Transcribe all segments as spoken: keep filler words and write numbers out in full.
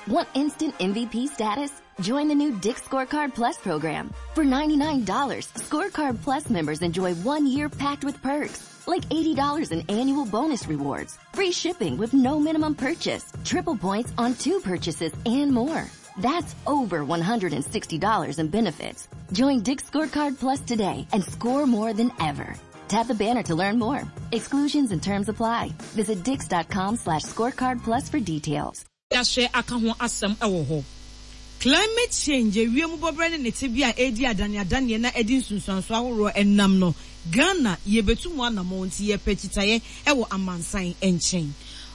Want instant M V P status? Join the new Dick's Scorecard Plus program. For ninety-nine dollars, Scorecard Plus members enjoy one year packed with perks, like eighty dollars in annual bonus rewards, free shipping with no minimum purchase, triple points on two purchases, and more. That's over one hundred sixty dollars in benefits. Join Dick's Scorecard Plus today and score more than ever. Tap the banner to learn more. Exclusions and terms apply. Visit dicks dot com slash scorecard plus for details. Yɛahyɛ aka ho asɛm wɔ hɔ. Climate change, ewiem bɔbrɛ ne ne tebea a edi adaneadaneɛ na ɛde nsunsuanso ahoroɔ ɛnam no, Ghana yɛbɛtu mu anammɔn, nti yɛpɛ kyitaeɛ ɛwɔ amansan nkyɛn.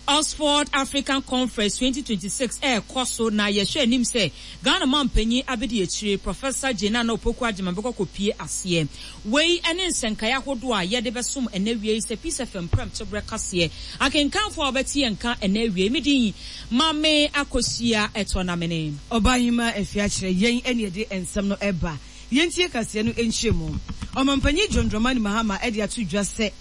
Oxford African Conference twenty twenty-six ɛrekɔ so, na yɛhwɛ anim sɛ Ghana mampanyin abɛdi akyire, Professor Jane Naana Opoku Agyemang, bɛkɔ kɔpie aseɛ. Wei ne nsɛnkaeɛ ahodoɔ a yɛde bɛsom ɛnɛ wie yi sɛ Peace F M prɛm toberɛ kaseɛ akenkanfoɔ a wɔbɛte yɛn nka ɛnɛ wie. Mi din Maame Akosua Ɛtɔ Namene. Ɔbaahema Afi akyerɛ yɛn ɛne yɛde nsɛm no ɛba. Yɛntie kaseɛ no nkyerɛ mu. Ɔmampanyin John Dramani Mahama ɛde ato dwa sɛ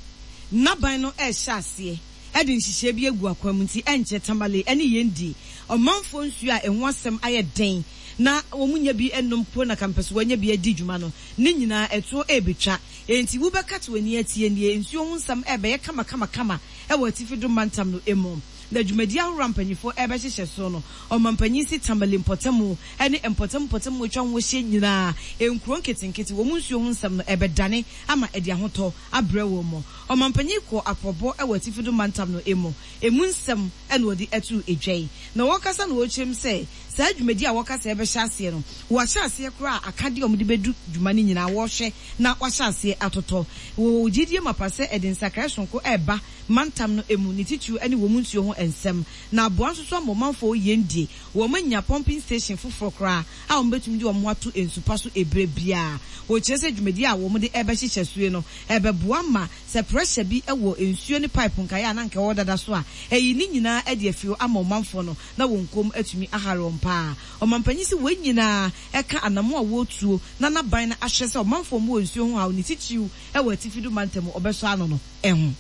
n'aban no ɛrehyɛ aseɛ ɛde nhyehyɛe bi agu akwan mu, nti ɛnkyɛ Tamale ɛne yɛn di ɔmanfoɔ nsuo a ɛho asɛm ayɛ den na wɔn nya bi nom po na kampɛso wɔanya bi adi dwuma no ne nyinaa ɛtoɔ ɛrebɛtwa. Enti wobɛka te w'ani atie nie, nsuo ho nsɛm ɛrebɛyɛ kamakamakama ɛwɔ Atifi Do mantam no emu, na dwumadi ahorow a mpanyinfoɔ ɛrebɛhyehyɛ so no, ɔmampanyin si Tamale mpɔtamu ɛne mpɔtam mpɔtam atwa ho ahyia nyinaa, nkuro nketenkete, wɔn nsuo ho nsɛm no ɛbɛdane ama ɛde ahotɔ abrɛ wɔn mu. Ɔmampanyin kɔ apɔbɔ ɛwɔ Atifi Do mantam no emu emu nsɛm ɛna wɔde ɛto edwa yi, na wɔkasa na wɔrekyerɛm sɛ saa dwumadi a wɔkasa ɛbɛhyɛ aseɛ no, wɔahyɛ aseɛ koraa. Akadeɛ a wɔde bɛdu dwuma no nyinaa wɔrehwɛ na wɔahyɛ aseɛ atotɔ. Wɔ gyidie mapa sɛ ɛde nsakrae sonko ɛreba mantam no emu, ne titiriw ne wɔn nsuo ho nsɛm, na aboa nso so ama ɔmanfoɔ yɛn die wɔn anya pumping station foforɔ koraa a wɔn bɛtumi de wɔn ho ato nsupa so ebere biara. Wɔkyerɛ sɛ dwumadi a wɔn de ɛbɛhyehyɛ soe no ɛbɛboa ma sɛ pressure bi wɔ nsuo ne pipe nkaeɛ a na nka ɛwɔ dada so a, ɛyi ne nyinaa de afi ama ɔmanfoɔ no na wɔn kɔn atumi ahare wɔn paa. Ɔmampanyin sɛ wɔn nyinaa ɛka anamo a wɔretuo na n'aban no ahyɛ sɛ ɔmanfoɔ mu wɔ nsuo ho haw, ne titiriw ɛwɔ Atifi Do mantam, ɔbɛsɔ ano no ɛho.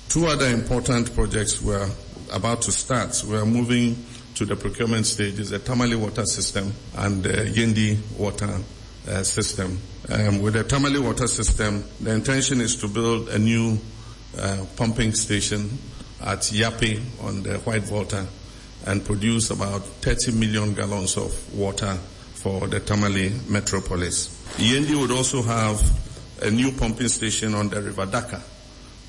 Two other important projects we're about to start. We are moving to the procurement stages, the Tamale water system and the Yendi water uh, system. Um, with the Tamale water system, the intention is to build a new uh, pumping station at Yapei on the White Volta and produce about thirty million gallons of water for the Tamale metropolis. Yendi would also have a new pumping station on the River Daka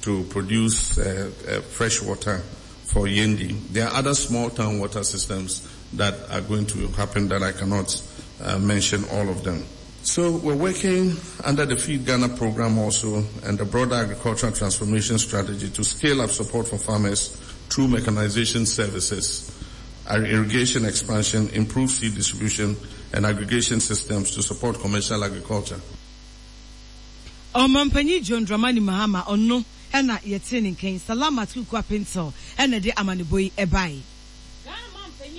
to produce uh, uh, fresh water for Yendi. There are other small town water systems that are going to happen that I cannot uh, mention all of them. So we're working under the Feed Ghana program also and the broader agricultural transformation strategy to scale up support for farmers through mechanization services, irrigation expansion, improved seed distribution and aggregation systems to support commercial agriculture. Ɔmampanyin John Dramani Mahama, ɔno ɛna yɛte ne nkan. Salamat Kuku Apintel ɛna de amanebɔ yi ɛbae.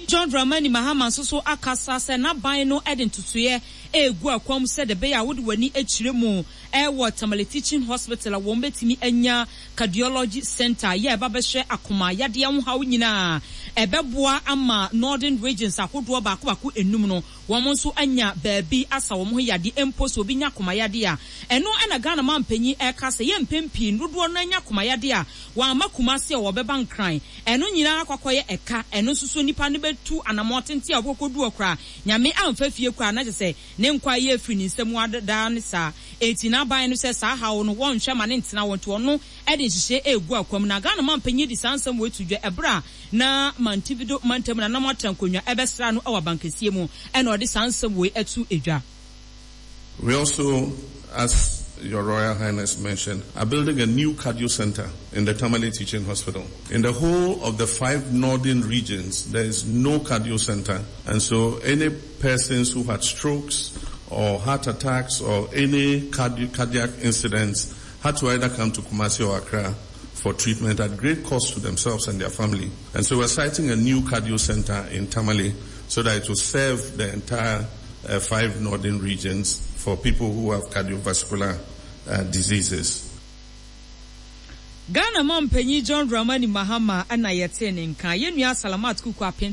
John Dramani Mahama nso so akasa sɛ n'aban no de ntotoeɛ egu akwam sɛ de bɛyɛ a wode w'ani akyerɛ mu ɛwɔ Tamale Teaching Hospital a, wɔn bɛtumi anya cardiology center yɛ ɛba bɛhwɛ akoma yadeɛ ho haw nyinaa. Ɛbɛboa ama northern regions ahodoɔ baako baako enum no, wɔn nso anya baabi asa wɔn ho yadeɛ. Mpo sɛ obi nya akoma yadeɛ a, ɛno ɛna Ghana mampanyin ɛka sɛ yɛ mpɛn pii dodoɔ no anya akoma yadeɛ a, wɔama Kumase a, wɔbɛba Nkran. Ɛno nyinaa akɔkɔyɛ ɛka. Ɛno nso so nipa no bɛtu anammɔn tenten a wɔkɔkɔdu hɔ koraa, Nyame amfa fie koraa na kyerɛ sɛ ne nkwa yɛ afiri ne nsam adaa ne saa. Eti n'aban no sɛ saa haw no wɔnhwɛ ma ne ntena wɔn, nti ɔno ɛde nhyehyɛ egu akwam. Na Ghana mampanyin de saa nsɛm wɔ etu dwa ɛberɛ a na Mantivido mantam na nam atra nkonnwa ɛbɛsra no ɛwɔ abankɛseɛ mu, ɛna ɔde saa nsɛm wɔ ɛtu edwa. We also, as Your Royal Highness mentioned, are building a new cardio center in the Tamale Teaching Hospital. In the whole of the five northern regions, there is no cardio center. And so any persons who had strokes or heart attacks or any cardi- cardiac incidents had to either come to Kumasi or Accra for treatment at great cost to themselves and their family. And so we're siting a new cardio center in Tamale so that it will serve the entire uh, five northern regions for people who have cardiovascular uh, diseases. Ghana mampanyin John Dramani Mahama ɛna yɛte ne nka. Yɛn nua Salamat Kuku Apin.